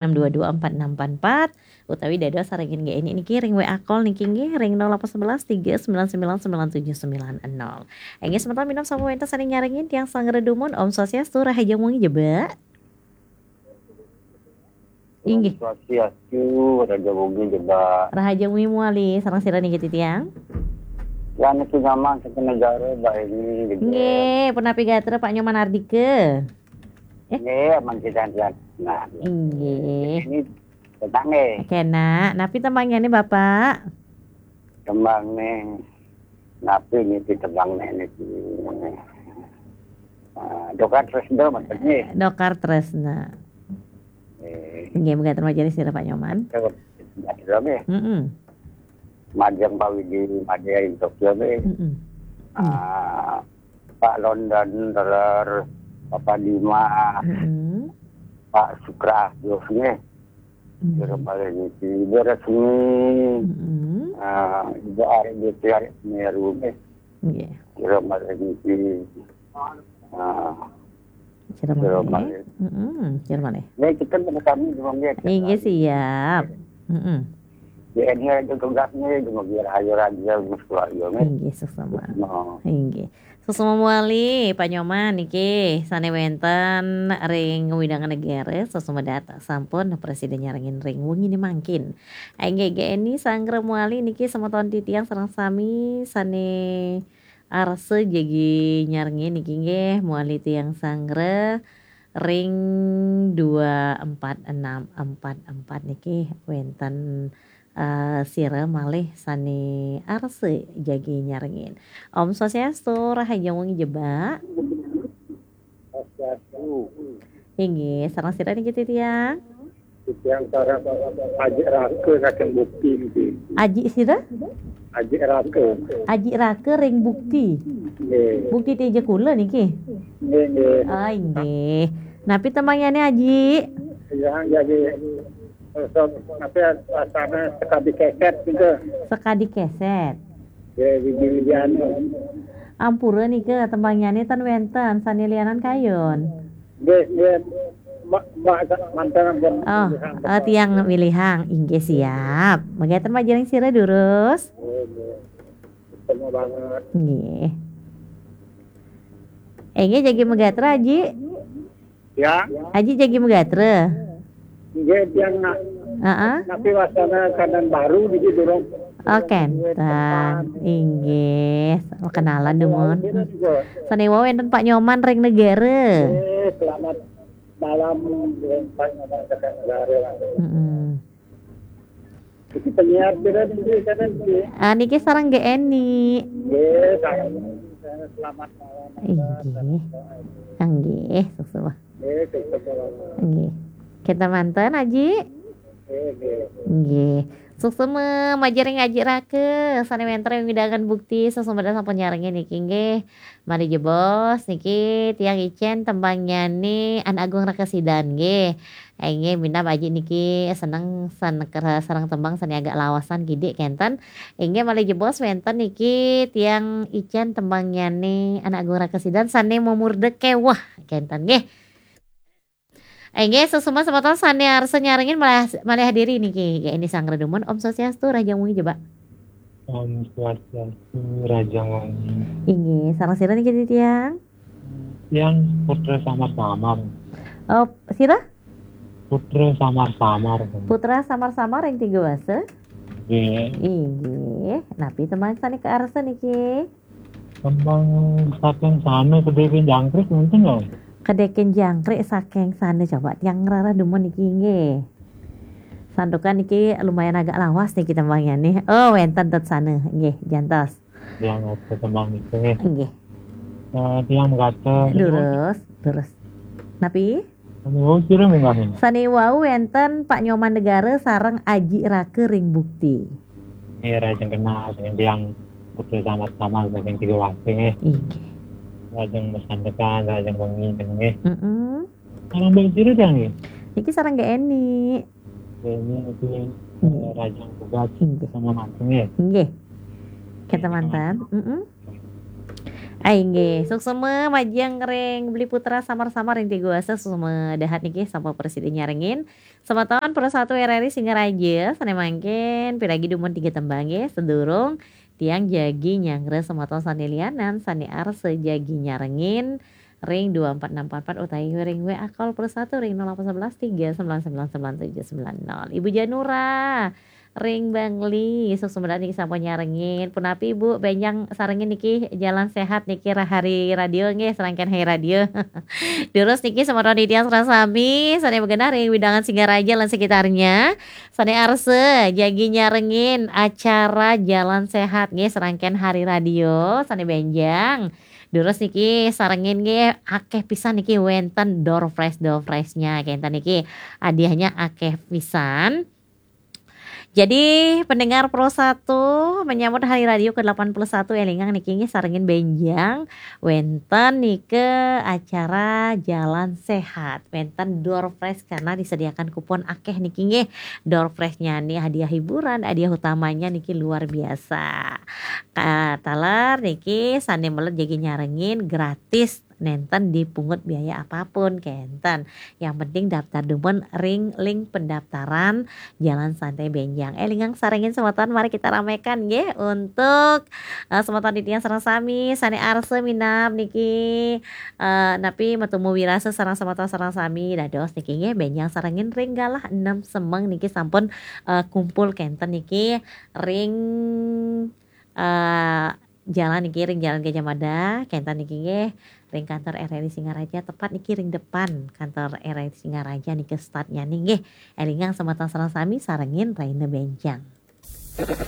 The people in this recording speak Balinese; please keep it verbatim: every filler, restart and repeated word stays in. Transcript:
enam dua dua empat enam empat empat, utawi dados sarengin G N I niki ring W A call niki nggih ring nol delapan sebelas tiga sembilan sembilan sembilan tujuh sembilan nol. Inggih semeton minab sampun wenten sane nyarengin tiang sanggra dumun. Om Swastiastu, rahajeng wengi jebak. Inggih. Swastiastu, rahajeng wengi jebak. Rahajeng wengi malih, sareng sira niki titiang? Lan niki Nyoman saking negara, Mbak Eni, jebak. Nggih, punapi gatra Pak Nyoman Ardika? Eh? Nggih, aman kita. Nah. Inggih. Ini tentang nggih. Kenak, napi tembangnyané, Bapak? Tembangnyané, napi niki tembangnyané niki? Ah, Dokar Tresna, maksudnya. Dokar Tresna. Eh. Nggih, mekaten majeng sira Pak Nyoman. Terus, nggih. Mm-mm. Majeng Pak Widi, majeng ring Tokyo nggih. Mm-mm. Ah, Pak London, terus Bapak Dima, mm-mm, Pak Sukra, terus nggih. Mm. Sira malih niki, Ibu Resmi. Mm-mm. Ah, Ibu Ari, Ibu Tri Ari Semeru nggih. Nggih. Sira malih niki. Ah, sira malih. Sira malih. Mm-mm, sira malih. Nggih, kita sama-sama juga nggih. Inggih, siap. Mm-mm. Di N R juga tugasnya, juga biar ayo raja, terus keluarga nggih. Inggih, sesama. No. Inggih. Suksma malih, Pak Nyoman niki sane wenten ring wewidangan negara, suksma dhat sampun prasida nyarengin ring wengine mangkin. Inggih, G N I sanggra malih niki semeton titiang sareng sami sane arsa jagi nyarengin niki nggih, malih tiang sanggra ring dua empat enam empat empat niki wenten eh, sira malih sane arsa jagi nyarengin. Om Swastiastu, rahajeng wengi jebak. Swastiastu. Inggih, sareng sira niki titiang? Titiang sareng Aji Raka saking Bukti niki. Aji sira? Aji Raka. Aji Raka ring Bukti. Nggih. Bukti Teja Kula niki? Nggih, nggih. Ah, inggih. Napi tembangnyané, Aji? Ya, jadi, eh, so, apa ya, rasanya sekadi keset gitu. Sekadi keset. Ya, di, di, di anu. Ampura nika tembangnyané ten wenten, sane lianan kayun. Nggih, nggih. Mbak, Mbak, manten ampun. Oh, milihang, eh, tiang milihang. Inggih, siap. Mekaten majeng sira durus. Nggih, nggih. Ketemu banget. Nggih. Eh, nggih, jagi megatra, Aji? Ya. Aji jagi megatra? Nggih, tiang nak. Heeh. Tapi wasana kandan baru di durung. Oh, kenten. Inggih, kenalan dumun. Sane wau enten Pak Nyoman ring negara. Eh, selamat malam, Pak Nyoman ring negara. Mm-mm. Iki penyiar pira niki, kenten niki? Ah, niki sareng G N I. Nggih, sareng. Selamat malam. Inggih. Nggih, suksma. Nggih, suksma. Nggih. Kita manten, Aji? Nggih, nggih. Nggih. Suksma majeng ring Aji Raka, sane wenten ring wewidangan Bukti, suksma sampun nyarengin niki nggih. Malih jebos niki tiang icen tembangnyané Anak Agung Raka Sidan nggih. Inggih, minab Aji niki seneng san-, kera-, sareng tembang sane agak lawasan kidik kenten. Inggih, malih jebos wenten niki tiang icen tembangnyané Anak Agung Raka Sidan sane memurda keweh kenten nggih. Inggih, suksma semeton sane arsa nyarengin malih, malih hadiri niki. Nggih, G N I sanggra dumun. Om Swastiastu, rahajeng wengi jebak. Om Swastiastu, rahajeng wengi. Inggih, sareng sira niki titiang? Tiang Putra Samar-Samar. Oh, sira? Putra Samar-Samar. Putra Samar-Samar ring Tiga Wasa? Nggih. Inggih. Napi tembang sane kaarsa niki? Tembang saking sana, Kedeken Jangkrik, wenten lho. Kedeken Jangkrik saking sana, coba tiang ngrereh dumun niki nggih. Santukan niki lumayan agak lawas niki tembangnyané. Oh, wenten ten sana. Nggih, jantos. Tiang ngrereh tembang niki nggih. Nggih. Eh, tiang mekaten. Durus, durus. Napi? Sane wau sira minggah? Sane wau wenten Pak Nyoman Negara sareng Aji Raka ring Bukti. Nggih, rahajeng kenal, saking tiang Putra Samar-Samar saking Tiga Wasa nggih. Inggih. Rahajeng masandekan, rahajeng wengi nggih. Heeh. Sareng Mbak sira tiang nggih? Niki sareng G N I. G N I niki, nggih, eh, rahajeng tugas. Inggih. Sama manten nggih. Inggih. Kenten manten. Heeh. Ai nggih, suksma majeng ring Beli Putra samar-samar ring Tiguasa, suksma dahat niki sampun prasida nyarengin. Semeton Pro satu R R I Singaraja, sane mangkin piragi dumun tiga tembang nggih, sadurung tiang jagi nyanggra semeton sane lianan, sane arsa jagi nyarengin ring dua empat enam empat empat utawi ring W A call Pro satu ring nol delapan sebelas tiga sembilan sembilan sembilan tujuh sembilan nol. Ibu Janura, ring Bangli, suksma dahat niki sampun nyarengin. Punapi Ibu, benjang sarengin niki Jalan Sehat niki ra-, hari radio nggih, serangkaian hari radio. Durus niki semeton titiang sareng sami, sane magenah ring wewidangan Singaraja lan sekitarnya. Sane arsa, jagi nyarengin acara Jalan Sehat nggih, serangkaian hari radio, sane benjang. Durus niki sarengin nggih, akeh pisan niki wenten door prize, door prize-nya, kenten niki hadiahnya akeh pisan. Jadi, pendengar Pro satu, menyambut Hari Radio ke delapan puluh satu, elingang niki nggih sarengin benjang, wenten nika acara Jalan Sehat, wenten door prize karena disediakan kupon akeh niki nggih. Door prize-nya nih hadiah hiburan, hadiah utamanya niki luar biasa. Ka-, taler niki sane meled jagi nyarengin gratis, nenten dipungut biaya apapun, kenten. Yang penting daftar dumun ring link pendaftaran Jalan Santai Benjang. Elingang sarengin semeton, mari kita ramekan nggih untuk, eh, semeton titiang sareng sami, sane arsa minab niki, eh, napi matemu wirasa sareng semeton sareng sami, dados niki nggih benjang sarengin ring galah enam semeng niki sampun, eh, kumpul, kenten niki ring, eh, jalan niki, ring Jalan Gajah Mada, kenten niki nggih, ring kantor R R I Singaraja, tepat niki ring depan kantor R R I Singaraja niki start-nya nih nggih. Elingang semeton sareng sami sarengin rahina benjang.